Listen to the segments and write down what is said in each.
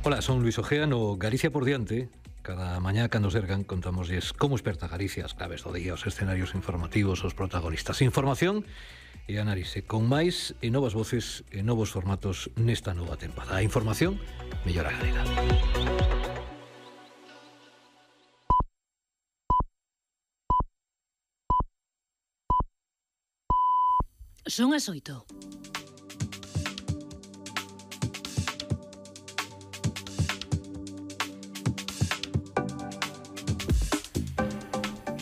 Ola, son Luis Ojea no Galicia por diante. Cada mañá cando sergan contamosles como esperta Galicia, as claves do día, os escenarios informativos, os protagonistas. Información e análise con máis e novas voces e novos formatos nesta nova tempada. A información mellora galega. Son as 8.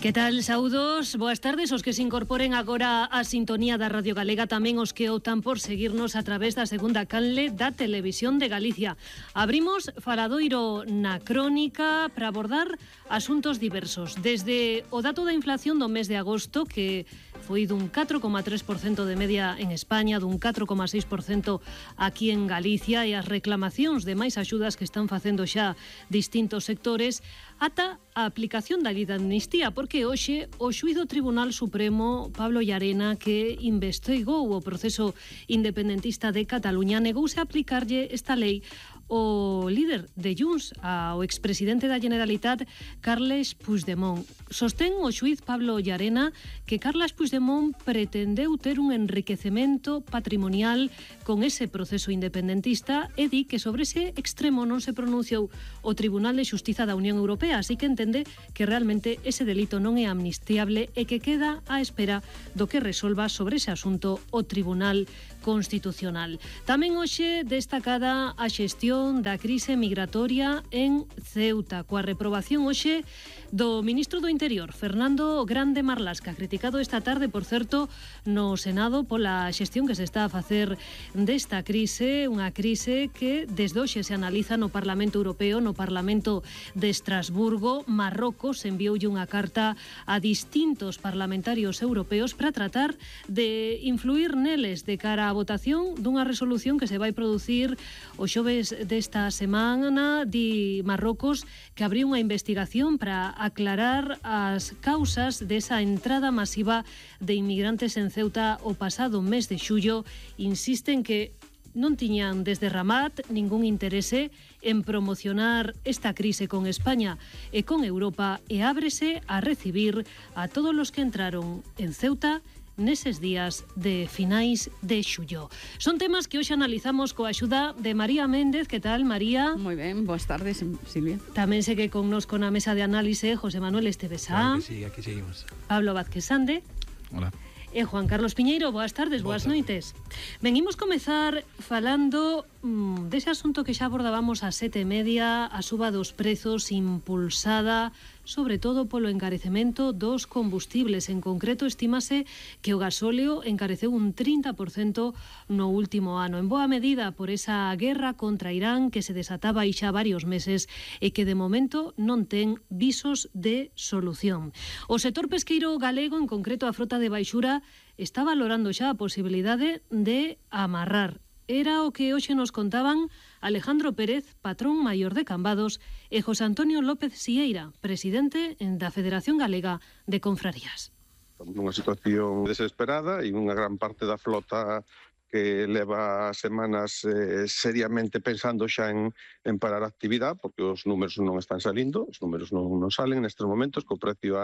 Que tal, saudos? Boas tardes os que se incorporen agora á sintonía da Radio Galega, tamén os que optan por seguirnos a través da segunda canle da Televisión de Galicia. Abrimos faladoiro na crónica para abordar asuntos diversos, desde o dato da inflación do mes de agosto, que foi dun 4,3% de media en España, dun 4,6% aquí en Galicia, e as reclamacións de máis axudas que están facendo xa distintos sectores, ata a aplicación da lei de amnistía, porque hoxe o xuíz do Tribunal Supremo, Pablo Llarena, que investigou o proceso independentista de Cataluña, negouse a aplicarlle esta lei o líder de Junts, ao expresidente da Generalitat, Carles Puigdemont. Sostén o xuíz Pablo Llarena que Carles Puigdemont pretendeu ter un enriquecemento patrimonial con ese proceso independentista e di que sobre ese extremo non se pronunciou o Tribunal de Xustiza da Unión Europea, así que entende que realmente ese delito non é amnistiable e que queda á espera do que resolva sobre ese asunto o Tribunal Constitucional. Tamén hoxe destacada a xestión da crise migratoria en Ceuta, coa reprobación hoxe do ministro do Interior, Fernando Grande Marlasca, criticado esta tarde, por certo, no Senado pola xestión que se está a facer desta crise, unha crise que desde hoxe se analiza no Parlamento Europeo, no Parlamento de Estrasburgo. Marrocos envioulle unha carta a distintos parlamentarios europeos para tratar de influir neles de cara á votación dunha resolución que se vai producir o xoves desta semana. Di Marrocos que abriu unha investigación para aclarar as causas desa entrada masiva de inmigrantes en Ceuta o pasado mes de xullo. Insisten que non tiñan desde Ramat ningún interese en promocionar esta crise con España e con Europa, e ábrese a recibir a todos os que entraron en Ceuta neses días de finais de xullo. Son temas que hoxe analizamos coa axuda de María Méndez. Que tal, María? Moi ben, boas tardes, Silvia. Tamén segue connosco na mesa de análise José Manuel Estevesá. Claro que sí, aquí seguimos. Pablo Vázquez Sande. Hola. E Juan Carlos Piñeiro. Boas tardes, boas noites. Venimos comezar falando dese asunto que xa abordábamos ás 7:30, a suba dos prezos impulsada sobre todo polo encarecemento dos combustibles. En concreto, estímase que o gasóleo encareceu un 30% no último ano, en boa medida por esa guerra contra Irán que se desataba aí xa varios meses e que de momento non ten visos de solución. O sector pesqueiro galego, en concreto a frota de baixura, está valorando xa a posibilidade de amarrar. Era o que hoxe nos contaban Alejandro Pérez, patrón maior de Cambados, e José Antonio López Sieira, presidente da Federación Galega de Confrarías. Unha situación desesperada e unha gran parte da flota que leva semanas seriamente pensando xa en parar a actividade, porque os números non están salindo, os números non salen nestes momentos, co precio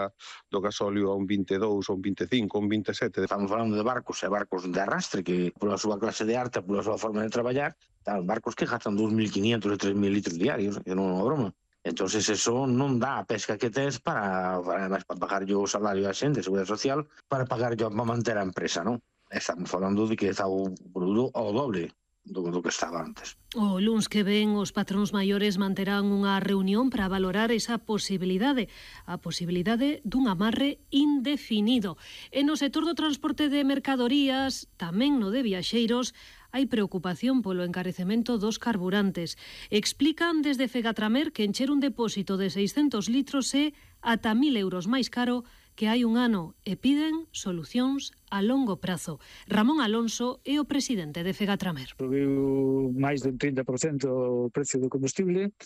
do gasóleo a un 22, a un 25, a un 27. Estamos falando de barcos e barcos de arrastre que, pola súa clase de arte, pola súa forma de traballar, barcos que gastan 2.500 e 3.000 litros diarios, que non é unha broma. Entonces eso non dá a pesca que tes para pagar o salario a xente, a seguridade social, para pagar para manter a empresa, non? Estamos falando de que está o produto ao doble do que estaba antes. O luns que ven os patróns maiores manterán unha reunión para valorar esa posibilidade, a posibilidade dun amarre indefinido. E no sector do transporte de mercadorías, tamén no de viaxeiros, hai preocupación polo encarecemento dos carburantes. Explican desde Fegatramer que encher un depósito de 600 litros é ata 1.000 euros máis caro que hai un ano e piden solucións a longo prazo. Ramón Alonso é o presidente de Fegatramer. Subiu máis dun 30% o precio do combustible,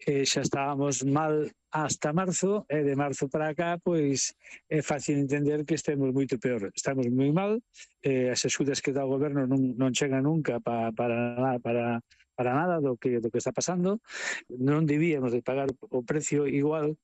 xa estábamos mal hasta marzo, e de marzo para acá pois é fácil entender que estemos moito peor. Estamos moi mal, as axudas que dá o goberno non chegan nunca para para nada do que está pasando. Non debíamos de pagar o precio igual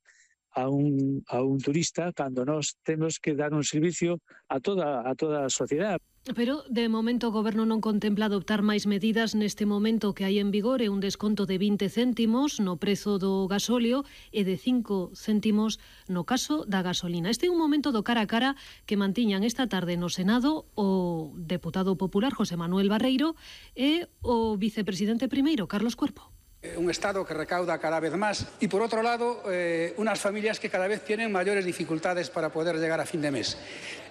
a un turista cando nós temos que dar un servicio a toda a sociedade. Pero, de momento, o Goberno non contempla adoptar máis medidas neste momento que hai en vigor un desconto de 20 céntimos no prezo do gasóleo e de 5 céntimos no caso da gasolina. Este é un momento do cara a cara que mantiñan esta tarde no Senado o deputado popular José Manuel Barreiro e o vicepresidente primeiro, Carlos Cuerpo. Un Estado que recauda cada vez más y, por otro lado, unas familias que cada vez tienen mayores dificultades para poder llegar a fin de mes.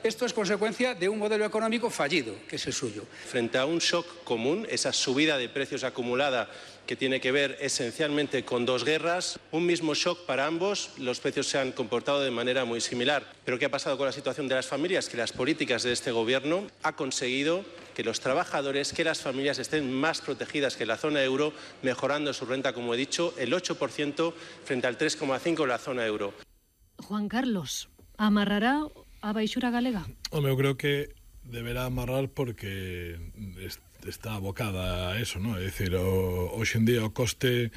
Esto es consecuencia de un modelo económico fallido, que es el suyo. Frente a un shock común, esa subida de precios acumulada que tiene que ver esencialmente con dos guerras, un mismo shock para ambos, los precios se han comportado de manera muy similar. Pero ¿qué ha pasado con la situación de las familias? Que las políticas de este gobierno ha conseguido que los trabajadores, que las familias estén más protegidas que la zona euro, mejorando su renta, como he dicho, el 8% frente al 3,5% de la zona euro. Juan Carlos, amarrará a baixura galega? Home, eu creo que deberá amarrar porque está abocada a eso, ¿no? É dicir, hoxe en día o coste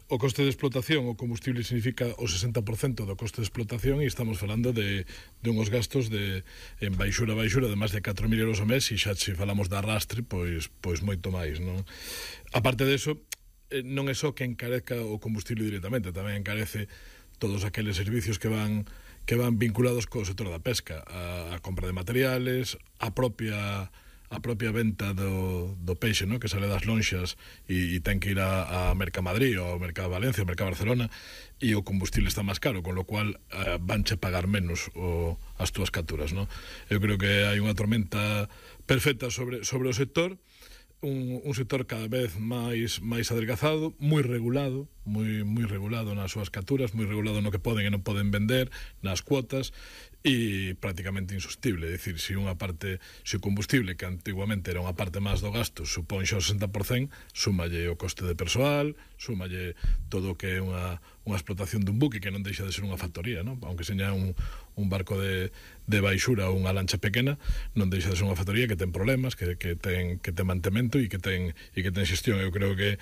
de explotación, o combustible significa o 60% do coste de explotación e estamos falando de unhos gastos en baixura de máis de 4.000 euros ao mes e xa se falamos de arrastre, pois moito máis, non? A parte deso, non é só que encarezca o combustible directamente, tamén encarece todos aqueles servicios que van vinculados co sector da pesca, a compra de materiales, a propia venta do peixe, ¿no? Que sale das lonxas e ten que ir a Mercamadrid ou a Mercado Valencia, a Mercado Barcelona, e o combustible está máis caro, con lo cual vanche pagar menos as túas capturas, ¿no? Eu creo que hai unha tormenta perfecta sobre o sector, un sector cada vez máis adelgazado, moi regulado nas súas capturas, moi regulado no que poden e non poden vender, nas cuotas, e prácticamente insostible. É dicir, se o combustible, que antiguamente era unha parte máis do gasto, supón xa o 60%, súmalle o coste de persoal, súmalle todo o que é unha explotación dun buque que non deixa de ser unha factoría, ¿no? Aunque seña un barco de baixura ou unha lancha pequena, non deixa de ser unha factoría que ten problemas, que ten mantemento e que ten xestión. Eu creo que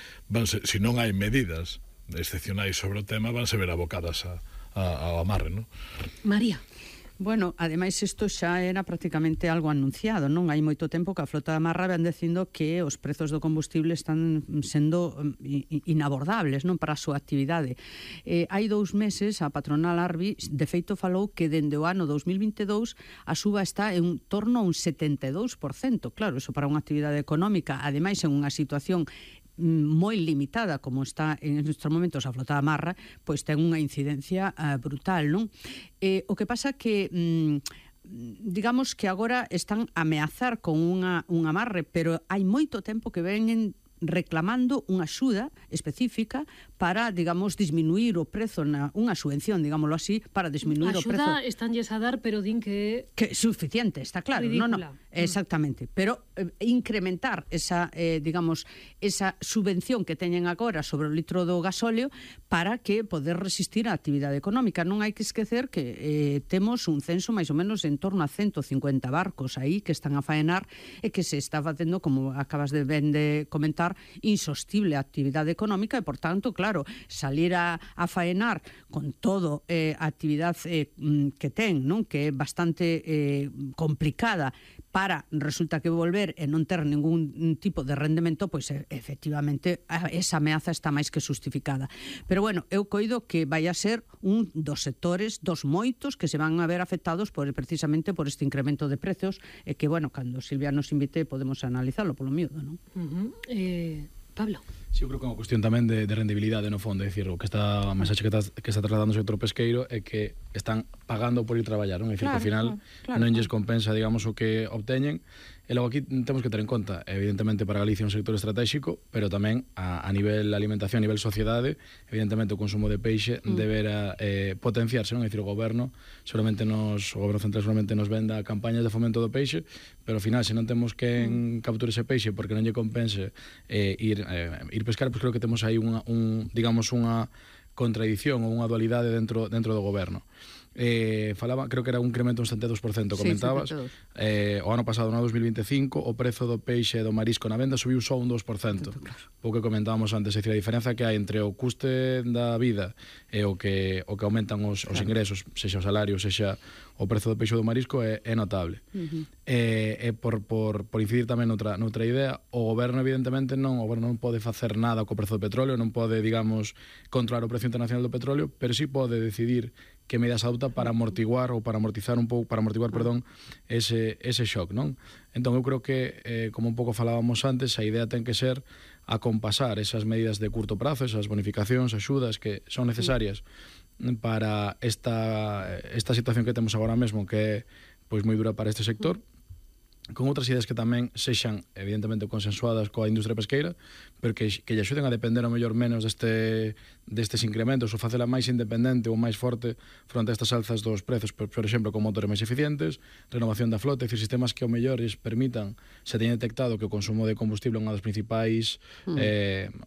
se non hai medidas excepcionais sobre o tema, vanse ver abocadas ao amarre, ¿no? María. Bueno, ademais isto xa era prácticamente algo anunciado, non? Hai moito tempo que a flota de amarra ven dicindo que os prezos do combustible están sendo inabordables, non, para a súa actividade. Hai 2 meses a patronal Arbi de feito falou que dende o ano 2022 a suba está en torno a un 72%. Claro, iso para unha actividade económica, ademais en unha situación moi limitada como está en estes momentos a flota de amarra, pois ten unha incidencia brutal, non? O que pasa que digamos que agora están a ameazar con un amarre, pero hai moito tempo que veñen reclamando unha axuda específica para, digamos, disminuir o prezo, unha subvención, digámoslo así, para disminuir o prezo. A axuda estánlles a dar, pero din que é suficiente, está claro. Ridícula. No, exactamente. Pero incrementar esa, digamos, esa subvención que teñen agora sobre o litro do gasóleo para que poder resistir a actividade económica. Non hai que esquecer que temos un censo máis ou menos en torno a 150 barcos aí que están a faenar e que se está facendo, como acabas de comentar, insostible a actividade económica e, por tanto, claro, salir a faenar con todo a actividade que ten, non? Que é bastante complicada para, resulta que volver e non ter ningún tipo de rendemento, pois efectivamente esa ameaza está máis que justificada. Pero bueno, eu coido que vai a ser un dos sectores, dos moitos que se van a ver afectados precisamente por este incremento de precios e que, bueno, cando Silvia nos invite podemos analizarlo polo miúdo, non? Pablo. Sí, eu creo que é unha cuestión tamén de rendibilidade no fondo, é dicir, o que está a mensaxe que está trasladando o sector pesqueiro é que están pagando por ir traballar, non? É dicir, que ao final non lles compensa, digamos, o que obteñen. E logo aquí temos que ter en conta, evidentemente, para Galicia un sector estratégico, pero tamén a nivel alimentación, a nivel sociedade, evidentemente o consumo de peixe deberá potenciarse, non? É dicir, o goberno central solamente nos venda campañas de fomento do peixe, pero ao final, se non temos que capturar ese peixe porque non lle compense ir pescar, pois creo que temos aí digamos unha contradición ou unha dualidade dentro do goberno. falaba, creo que era un incremento un 72%, comentabas. O ano pasado, no 2025, o prezo do peixe e do marisco na venda subiu só un 2%. O que comentábamos antes, é dicir, a diferenza que hai entre o custe da vida e o que aumentan os ingresos, sexa o salario, sexa o prezo do peixe do marisco, é notable. Por incidir tamén noutra idea, o goberno evidentemente non pode facer nada co prezo do petróleo, non pode, digamos, controlar o precio internacional do petróleo, pero sí pode decidir que medidas adopta para amortiguar ese shock, non? Entón eu creo que, como un pouco falábamos antes, a idea ten que ser acompasar esas medidas de curto prazo, esas bonificacións, axudas que son necesarias para esta situación que temos agora mesmo, que é pois moi dura para este sector, con outras ideas que tamén sexan evidentemente consensuadas coa industria pesqueira, pero que lle axuden a depender ao mellor menos destes incrementos, ou facela máis independente ou máis forte fronte a estas alzas dos prezos, por exemplo, con motores máis eficientes, renovación da flota, e sistemas que ao mellor permitan, se teña detectado que o consumo de combustible é unha das principais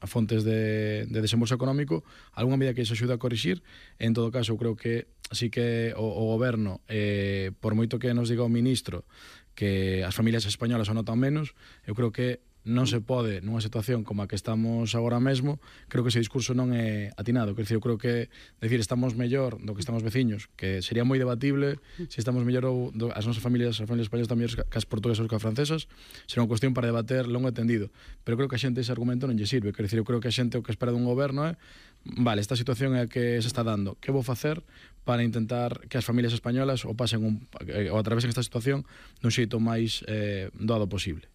fontes de desembolso económico, algunha medida que se axude a corrixir. En todo caso, eu creo que así que o goberno, por moito que nos diga o ministro que as familias españolas o notan menos, eu creo que non se pode, nunha situación como a que estamos agora mesmo, creo que ese discurso non é atinado. Eu creo que decir estamos mellor do que estamos veciños, que sería moi debatible se estamos mellor ou as nosas familias españolas están mellores que as portuguesas ou que as francesas, será unha cuestión para debater longo e tendido. Pero creo que a xente ese argumento non lle sirve. Eu creo que a xente o que espera dun goberno é vale, esta situación é a que se está dando, que vou facer para intentar que as familias españolas o pasen ou atravesen esta situación dun xeito máis doado posible.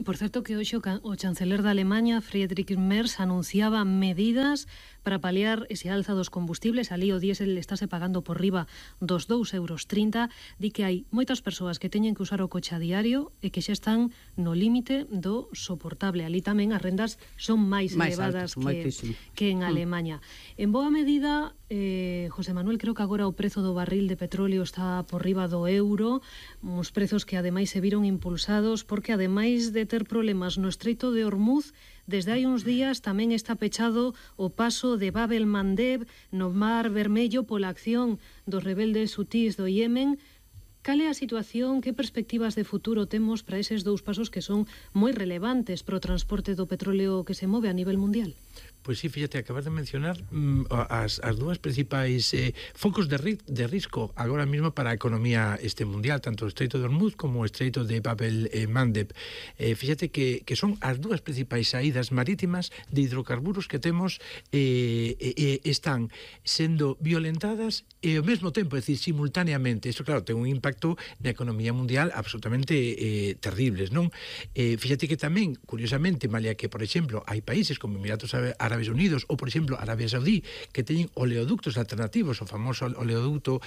Por certo que hoxe o chanceler da Alemanha, Friedrich Merz, anunciaba medidas para paliar ese alza dos combustibles. Ali o diésel estáse pagando por riba dos 2,30 euros. Di que hai moitas persoas que teñen que usar o coche a diario e que xa están no límite do soportable. Ali tamén as rendas son máis elevadas que en Alemanha. En boa medida, José Manuel, creo que agora o prezo do barril de petróleo está por riba do euro, uns prezos que ademais se viron impulsados porque ademais de ter problemas no Estreito de Hormuz, desde hai uns días tamén está pechado o paso de Bab el-Mandeb no Mar Vermello pola acción dos rebeldes hutís do Yemen. Cal é a situación, que perspectivas de futuro temos para eses dous pasos que son moi relevantes para o transporte do petróleo que se move a nivel mundial? Pois sí, fíjate, acabas de mencionar as dúas principais focos de risco agora mesmo para a economía mundial, tanto o Estreito de Hormuz como o Estreito de Bab el-Mandeb. Fíjate que son as dúas principais saídas marítimas de hidrocarburos que temos están sendo violentadas e ao mesmo tempo, é dicir, simultaneamente. Isto, claro, ten un impacto na economía mundial absolutamente terribles, non? Fíjate que tamén, curiosamente, malia que, por exemplo, hai países como Emiratos Árabes Unidos ou, por exemplo, Arabia Saudí, que teñen oleoductos alternativos, o famoso oleoducto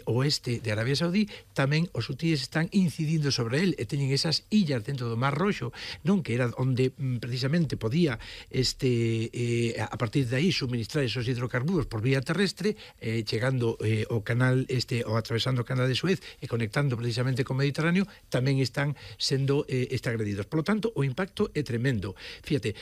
oeste de Arabia Saudí, tamén os hutíes están incidindo sobre el e teñen esas illas dentro do Mar Roxo, non, que era onde precisamente podía a partir de aí suministrar esos hidrocarburos por vía terrestre, chegando ao canal ou atravesando o canal de Suez e conectando precisamente co Mediterráneo, tamén están sendo agredidos. Por lo tanto, o impacto é tremendo. Fíjate,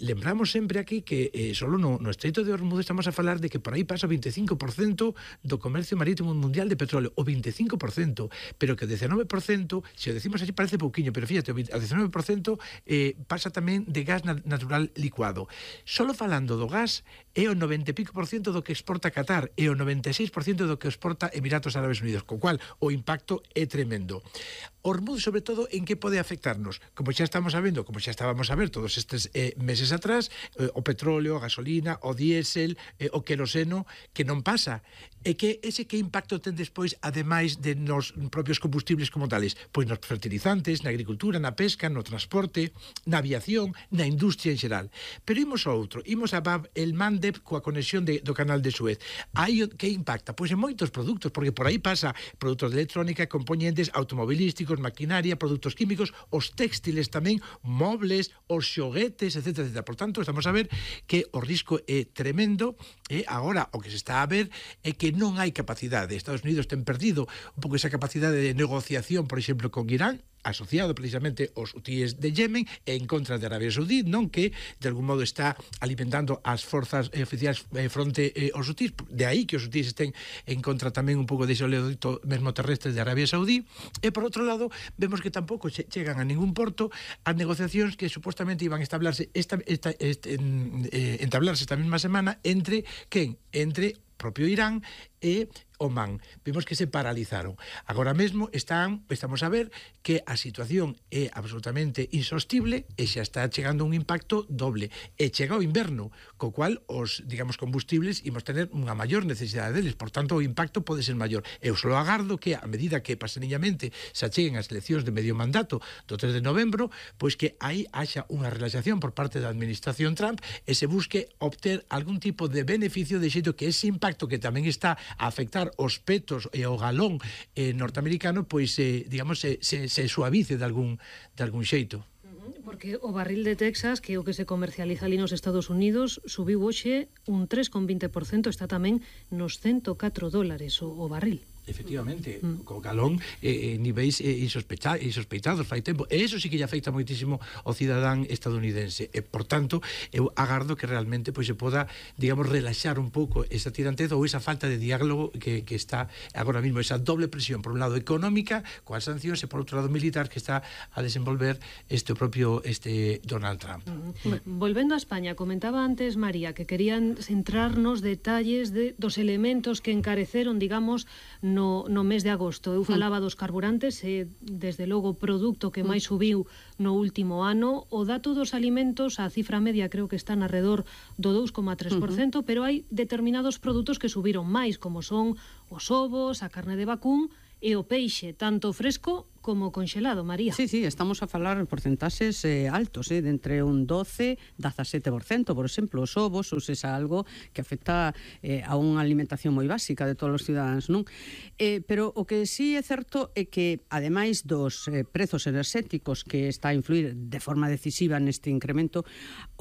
lembramos sempre aquí que solo no Estreito de Hormuz estamos a falar de que por aí pasa o 25% do comercio marítimo mundial de petróleo, o 25%, pero que o 19%, se o decimos así parece pouquiño, pero fíjate, o 19% pasa tamén de gas natural licuado. Solo falando do gas, é o 90 e pico % do que exporta Qatar e o 96% do que exporta Emiratos Árabes Unidos, co cual o impacto é tremendo. Hormuz, sobre todo, en que pode afectarnos? Como xa estamos sabendo, como xa estábamos a ver todos estes meses atrás, o petróleo, a gasolina, o diésel, o queroseno, que non pasa. E que impacto ten despois, ademais de nos propios combustibles como tales? Pois nos fertilizantes, na agricultura, na pesca, no transporte, na aviación, na industria en xeral. Pero imos a outro, imos a Bab el-Mandeb coa conexión do canal de Suez. Aí que impacta? Pois en moitos produtos, porque por aí pasa produtos de electrónica, componentes automobilísticos, maquinaria, produtos químicos, os textiles tamén, mobles, os xoguetes, etc. Por tanto, estamos a ver que o risco é tremendo e agora o que se está a ver é que non hai capacidade. Estados Unidos ten perdido un pouco esa capacidade de negociación, por exemplo, con Irán, asociado precisamente aos hutíes de Yemen e en contra de Arabia Saudí, non, que de algún modo está alimentando as forzas oficiais fronte aos hutíes, de aí que os hutíes estén en contra tamén un pouco dese oleoducto mesmo terrestre de Arabia Saudí. E por outro lado, vemos que tampouco chegan a ningún porto as negociacións que supostamente iban a entablarse esta mesma semana entre quen? Entre propio Irán e Omán. Vemos que se paralizaron. Agora mesmo estamos a ver que a situación é absolutamente insostible e xa está chegando un impacto doble. E chega o inverno, co cual os, digamos, combustibles imos tener unha maior necesidade deles. Por tanto, o impacto pode ser maior. Eu só agardo que, a medida que paseniñamente se acheguen as eleccións de medio mandato do 3 de novembro, pois que aí haxa unha relaxación por parte da administración Trump e se busque obter algún tipo de beneficio de xeito que ese impacto que tamén está a afectar os petos e o galón norteamericano, pois, digamos, se suavice de algún xeito. Porque o barril de Texas, que é o que se comercializa ali nos Estados Unidos, subiu hoxe un 3,20%, está tamén nos $104 o barril. Efectivamente, co galón niveis insospeitados fai tempo, e iso sí que lle afecta moitísimo ao cidadán estadounidense, e por tanto eu agardo que realmente pois se poda, digamos, relaxar un pouco esa tiranteza ou esa falta de diálogo que está agora mesmo, esa doble presión por un lado económica coas sancións e por outro lado militar que está a desenvolver este Donald Trump. Volvendo a España, comentaba antes María que querían centrarnos detalles dos elementos que encareceron, digamos, no mes de agosto. Eu falaba dos carburantes, desde logo o produto que máis subiu no último ano. O dato dos alimentos, a cifra media creo que está alrededor do 2,3%, pero hai determinados produtos que subiron máis, como son os ovos, a carne de vacún e o peixe, tanto fresco como congelado, María. Sí, estamos a falar de porcentaxes altos, de entre un 12 e 17%, por exemplo, os ovos, ou seja, algo que afecta a unha alimentación moi básica de todos os cidadáns, non? Pero o que sí é certo é que, ademais dos prezos enerxéticos que está a influir de forma decisiva neste incremento,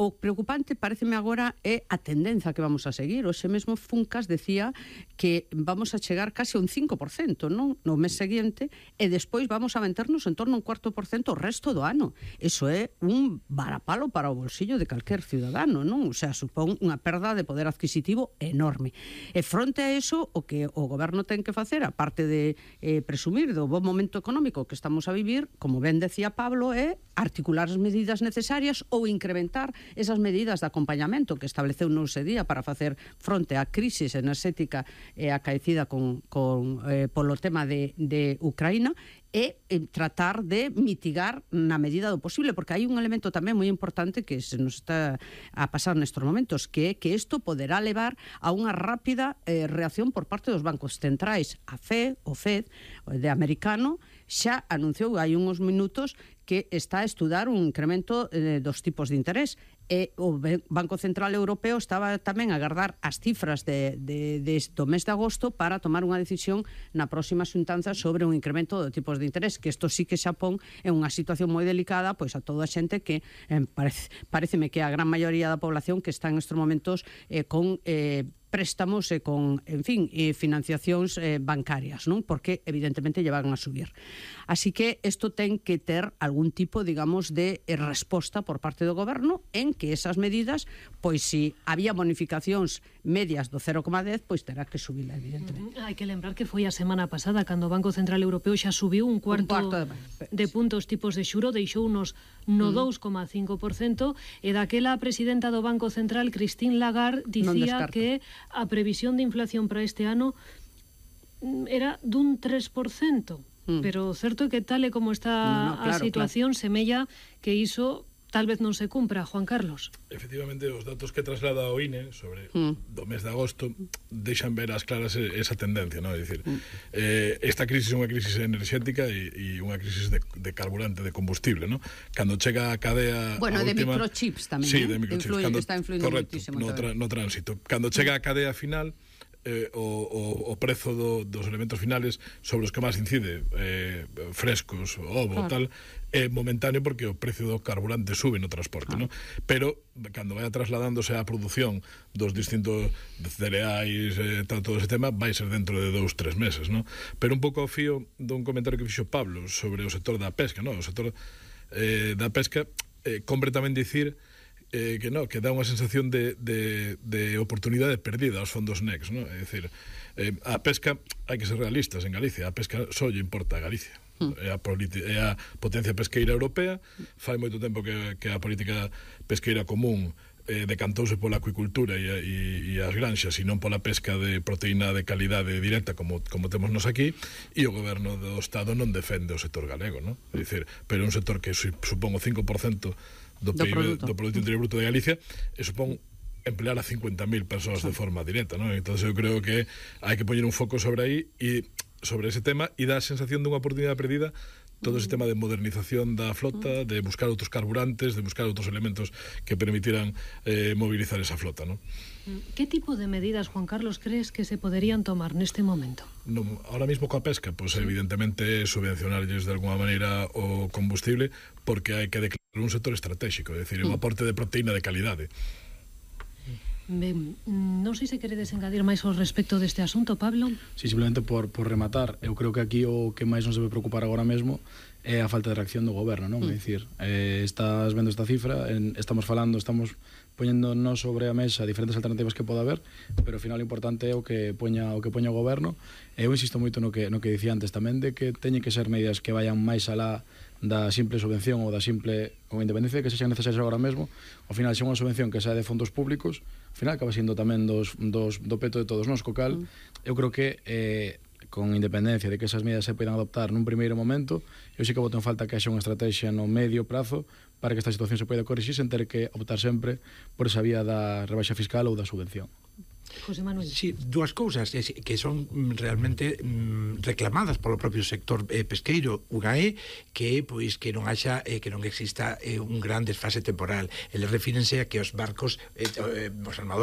o preocupante, pareceme agora, é a tendencia que vamos a seguir. Hoxe mesmo Funcas decía que vamos a chegar case a un 5%, non? No mes seguinte, e despois vamos a venternos en torno a un 4% o resto do ano. Eso é un varapalo para o bolsillo de calquer ciudadano, non? O sea, supón unha perda de poder adquisitivo enorme. E fronte a eso, o que o goberno ten que facer, aparte de presumir do bon momento económico que estamos a vivir, como ben decía Pablo, é articular as medidas necesarias ou incrementar esas medidas de acompañamento que estableceu no ese día para facer fronte á crisis enerxética acaecida polo tema de Ucraína, e tratar de mitigar na medida do posible, porque hai un elemento tamén moi importante que se nos está a pasar nestes momentos, que é que isto poderá levar a unha rápida reacción por parte dos bancos centrais. A FED, o de americano, xa anunciou hai uns minutos que está a estudar un incremento dos tipos de interés, e o Banco Central Europeo estaba tamén a agardar as cifras do mes de agosto para tomar unha decisión na próxima xuntanza sobre un incremento de tipos de interés, que isto sí que xa pon en unha situación moi delicada pois a toda a xente que pareceme que a gran maioría da población que está en estes momentos con préstamos e con, en fin, financiacións bancarias, non? Porque evidentemente lle van a subir. Así que isto ten que ter algún tipo, digamos, de resposta por parte do goberno en que esas medidas, pois se había bonificacións medias do 0,10, pois terá que subirla, evidentemente. Hai que lembrar que foi a semana pasada cando o Banco Central Europeo xa subiu un cuarto de puntos tipos de xuro, deixounos no 2,5%, e daquela a presidenta do Banco Central, Christine Lagarde, dicía que a previsión de inflación para este ano era dun 3%. Pero certo é que tal e como está a situación, semella que iso tal vez non se cumpra, Juan Carlos. Efectivamente, os datos que traslada o INE sobre do mes de agosto deixan ver as claras esa tendencia, non? É dicir, esta crisis é unha crisis enerxética e unha crisis de carburante, de combustible, non? Cando chega a cadea Bueno, de última... microchips tamén, sí, de microchips. Está influindo correcto, moitísimo. No tránsito. Cando chega a cadea final, o prezo dos elementos finales sobre os que máis incide, frescos, ovo, tal, é momentáneo porque o precio do carburante sube no transporte, ¿no? Pero cando vai trasladándose a produción dos distintos cereais, todo ese tema, vai ser dentro de 2-3 meses, ¿no? Pero un pouco ao fío dun comentario que fixo Pablo sobre o sector da pesca, ¿no? O sector da pesca, compre tamén dicir que dá unha sensación de oportunidade perdida aos fondos NECS, ¿no? É dicir, a pesca, hai que ser realistas en Galicia, a pesca só lle importa a Galicia. É a potencia pesqueira europea, fai moito tempo que a política pesqueira común decantouse pola acuicultura e as granxas e non pola pesca de proteína de calidade directa como temos nos aquí, e o goberno do Estado non defende o sector galego, ¿no? É dicir, pero é un sector que supón o 5% do PIB, do Produto Interior Bruto de Galicia, e supón emplear a 50.000 persoas de forma directa, ¿no? Entón eu creo que hai que poñer un foco sobre aí e sobre ese tema e dá a sensación dunha oportunidade perdida todo ese tema de modernización da flota, de buscar outros carburantes, de buscar outros elementos que permitiran movilizar esa flota, ¿no? ¿Qué tipo de medidas, Juan Carlos, crees que se poderían tomar neste momento? Ahora mismo coa pesca, pues evidentemente subvencionarlles de alguma maneira o combustible, porque hai que declarar un sector estratégico, é dicir, un aporte de proteína de calidade. Ben, non sei se queredes engadir máis ao respecto deste asunto, Pablo. Sí, simplemente por rematar, eu creo que aquí o que máis nos debe preocupar agora mesmo é a falta de reacción do goberno, non? É dicir, estás vendo esta cifra, estamos poñéndonos sobre a mesa diferentes alternativas que pode haber, pero ao final o importante é o que poña o goberno. Eu insisto moito no que dicía antes tamén, de que teñen que ser medidas que vayan máis alá da simple subvención ou da simple, con independencia de que sexan necesarias agora mesmo, ao final se unha subvención que sae de fondos públicos, ao final acaba sendo tamén do peto de todos nós, co cal eu creo que con independencia de que esas medidas se poidan adoptar nun primeiro momento, eu sí que boto en falta que haxa unha estrategia no medio prazo para que esta situación se poida corrixir sen ter que optar sempre por esa vía da rebaixa fiscal ou da subvención. José Manuel. Sí, dúas cousas que son realmente reclamadas polo propio sector pesqueiro. Unha é que non haxa que non exista un gran desfase temporal. Eles refírense a que os barcos, os armadores